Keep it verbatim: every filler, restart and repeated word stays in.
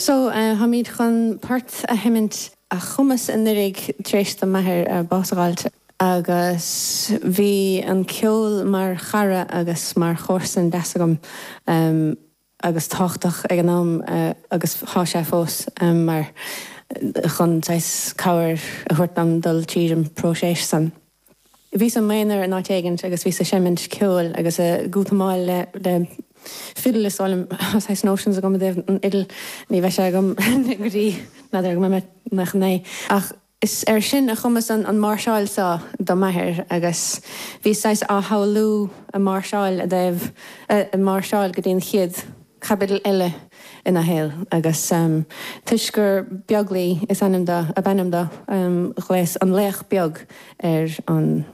So táimid chun port a sheinnt a chumas anuraidh tar éis do m'athair bás a fháilt agus bhí an ceol mar chara agus mar chomharsan deas agam um, agus tábhachtach ag an am uh, agus tá sé fós um, mar chun cabhair a thabhairt dom dul tríd an próiseas san. Bhíos i m'aonar in áit éigin agus bhíos ag seimint ceoil agus a gútamáil le le fidil is áil notions agam an fhidil ní bheidh sé agam go dtí n'fheadar go mbeidh mé ach is ar sin a chumas an an máirseáil seo do m'athair agus bhí sé á shamhlú a máirseáil a dtaobh a máirseáil go dtí an chéad chaibidil eile ina shaol agus um, toisc gur Beaglaoi is ainm dó ab ainm dó um, ghlaos an laoch beag ar an